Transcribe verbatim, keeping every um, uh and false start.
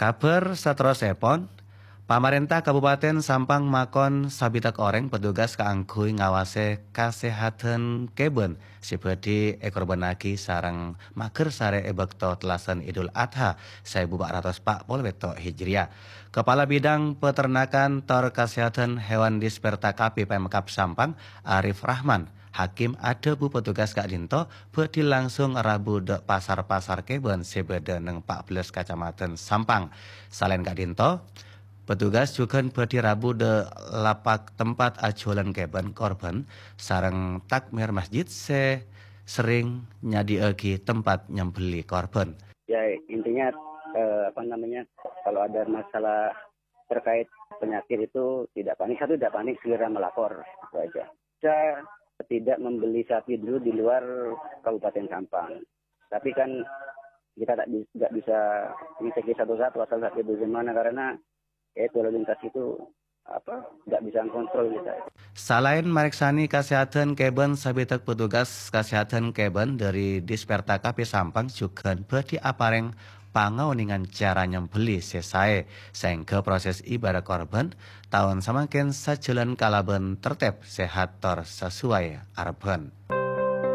Kabhâr saterrossèpon, pamarènta Kabupaten Sampang makon sabitèk orèng petugas kaangghuy ngawasè kasèhadhân kèbân sè bhâdhi èkorbhânnaghi sareng maghârsarè è bâkto tellasan Idul Adha saèbu pa' ratos pa' polo pètto' Hijriah. Kepala Bidang Peternakan tor Kasèhadhân Hewan Disperta K P Pemkab Sampang, Arif Rahman, Hakim adhâbu petugas ka'dinto bhâdhi langsung rabu dâ' pasar-pasar kèbân sè bâdâ neng pa' bellâs kacamadhân Sampang. Salaèn ka'dinto, petugas jhughân bhâdhi rabu dâ' lapak tempat ajhuwâlân kèbân korbhân sareng takmir masjid sè serrèng nyadhi'aghi tempat nyembelli korbhân. Ya, intinya, eh, apa namanya, kalau ada masalah terkait penyakit itu tidak panik, satu tidak panik, segera melapor, itu aja. Kita tidak membeli sapi dulu di luar Kabupaten Sampang. Tapi kan kita tak bi-, nggak bisa ngecek satu-satu asal sapi itu di mana, karena ya itu lalu lintas itu apa, nggak bisa kontrol kita. Salaèn marèksanè kasèhadhân kèbân sabitèk petugas kasèhadhân kèbân dâri Disperta K P Sampang jhughân bhâdhi aparèng pangaonèngan cara nyembelli sè saè, saèngghâ proses ibâdâ korbhân taon samangkèn sajhâlân kalabân tertib, sehat, tor sasuai arebbhân.